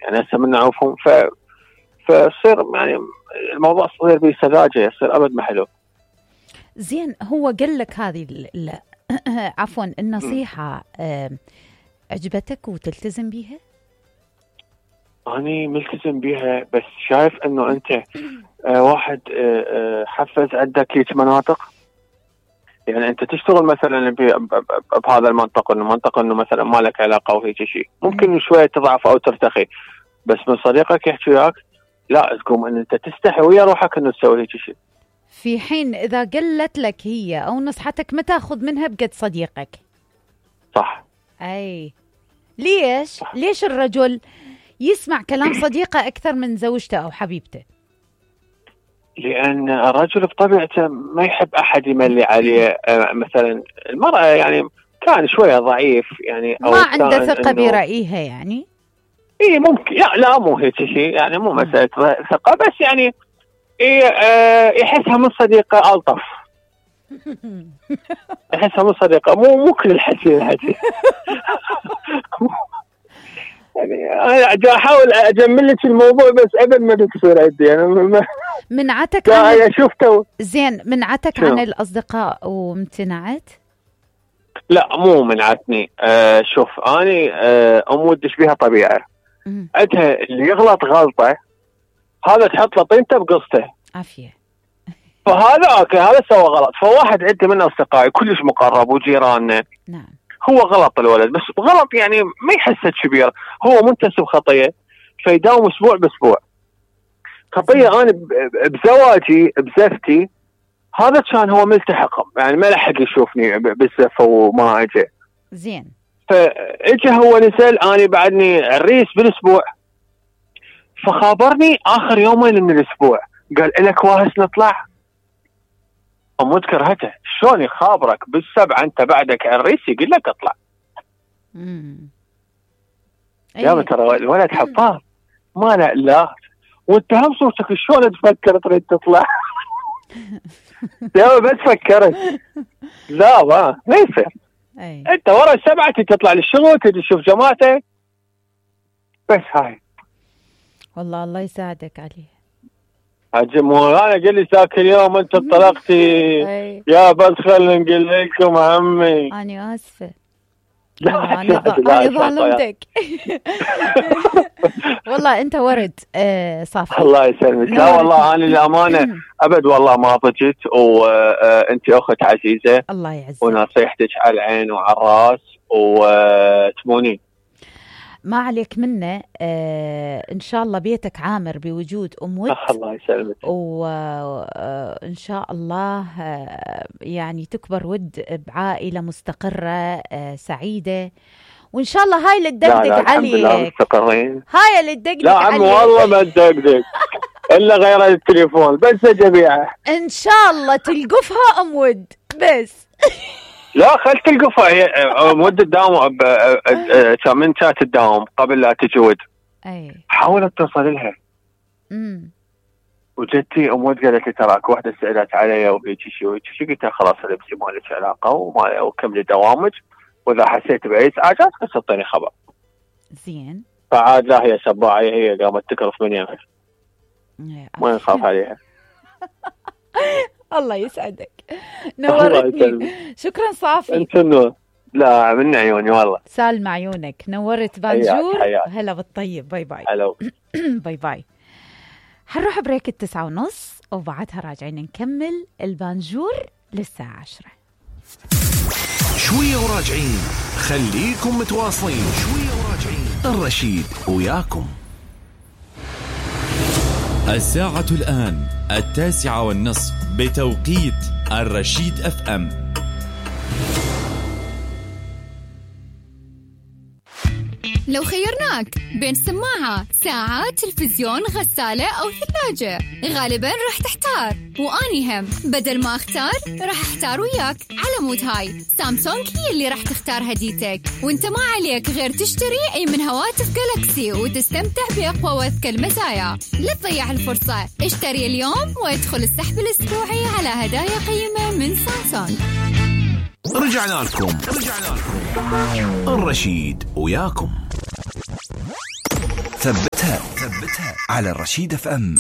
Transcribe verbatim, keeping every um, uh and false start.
يعني هسه من نعرفهم ف فصير يعني الموضوع صغير بسذاجة، يصير أبد ما حلو. زين، هو قال لك هذه ال... عفوا النصيحة آه، عجبتك وتلتزم بيها؟ أنا ملتزم بيها، بس شايف إنه أنت آه واحد آه آه حفز عندك هيك مناطق، يعني أنت تشتغل مثلا بهذا المنطقة، إنه منطقة إنه مثلا ما لك علاقة وهيك شيء، ممكن شوية تضعف أو ترتخي، بس من صديقك يحكي وياك لا تقوم ان انت تستحي ويا روحك انه تسوي هيك شيء. في حين اذا قلت لك هي او نصحتك ما تاخذ منها بقد صديقك. صح. اي ليش صح. ليش الرجل يسمع كلام صديقه اكثر من زوجته او حبيبته؟ لان الرجل بطبيعته ما يحب احد يملي عليه. مثلا المرأة يعني كان شوية ضعيف يعني، أو ما عنده ثقة برأيها يعني. ايه ممكن، لا لا مو هيك شيء يعني، مو مسألة ثقة، بس يعني إيه آه يحسها من صديقة ألطف. يحسها من صديقة، مو مو كل الحكي الحكي. يعني أنا أحاول أجمل لك الموضوع بس أبدا ما بتصير عندي يعني. منعتك عن ال... شفته زين منعتك شو؟ عن الأصدقاء وامتنعت؟ لا مو منعتني. آه شوف أنا آه أم ودش بيها طبيعة. عندها اللي يغلط غلطة هذا تحط له طينته بقصته. عافية. فهذا اوكي، هذا سوى غلط. فواحد عندي من اصدقائي كلش مقرب وجيراننا، نعم، هو غلط الولد، بس غلط يعني ما يحسه كبير، هو منتسب خطيه فيداوم اسبوع باسبوع. خطيه انا بزواجي بزفتي هذا كان هو ملتحق، يعني ما لحق يشوفني بالزفه وما اجى. زين. فاجى هو نزل، انا بعدني عريس بالاسبوع، فخابرني اخر يومين من الاسبوع قال لك واهس نطلع. أمود كرهته، شلون يخابرك بالسبعة أنت بعدك عريس يقول لك اطلع. امم يا ترى الولد حفاظ ما لا لا، وانت هم صوتك شلون تفكر تريد تطلع؟ يا بس فكرت لا ما ما يصير. انت ورا السبعة تطلع للشغل تجي تشوف جماعتك بس. هاي والله الله يساعدك عليه. حجي مو انا قال لي ذاك اليوم انت انطلقتي يا بس خلينا نقول لكم عمي. انا اسفه. لا انا ظلمتك. والله انت ورد آه صافي. الله يسلمك. لا والله انا الامانه ابد والله ما ضجت، وانت اخت عزيزه الله يعزك، ونصيحتك على العين وعلى الراس وتمونين. ما عليك منه. آه إن شاء الله بيتك عامر بوجود أم ود. الله يسلمك. وإن شاء الله آه يعني تكبر ود بعائلة مستقرة آه سعيدة، وإن شاء الله هاي اللي تدقدق عليك. مستقرين. هاي اللي تدقدق لا عم والله ما تدقدق إلا غير التليفون بس أجبيعه. إن شاء الله تلقفها أم ود بس. لا خل تلقفها هي مدة تداوم كان من كانت تداوم قبل لا تجي ود. اي حاولت توصل لها. امم وجدتي ام ود قالت لي تراك واحدة سألت علي وهيك شيء وهيك شيء، قلت لها خلاص لبسي ما لك علاقة وما وكملي دوامك، واذا حسيت باي ازعاجات بس اعطيني خبر. زين. فعاد لا هي سباعة هي قامت تكرف من يمها ما نخاف عليها. الله يسعدك، نورتني. شكرا صافي. انت النور. لا من عيوني والله. سالم عيونك، نورت بانجور. هلا بالطيب. باي باي. هلا. باي باي. حنروح بريك التسعة ونص وبعدها راجعين نكمل البانجور للساعة عشرة. شوية وراجعين، خليكم متواصلين. شوية وراجعين، الرشيد وياكم. الساعة الآن التاسعة والنصف بتوقيت الرشيد اف ام. لو خيرناك بين سماعة، ساعة، تلفزيون، غسالة أو ثلاجة، غالباً راح تحتار. وأني هم بدل ما أختار راح أحتار وياك. على مود هاي سامسونج هي اللي راح تختار هديتك، وانت ما عليك غير تشتري أي من هواتف جالاكسي وتستمتع بأقوى وأذكى المزايا. لا تضيع الفرصة، اشتري اليوم وادخل السحب الأسبوعي على هدايا قيمة من سامسونج. رجعنا لكم رجعنا لكم الرشيد وياكم. ثبت ثبتها ثبتها على الرشيد اف ام.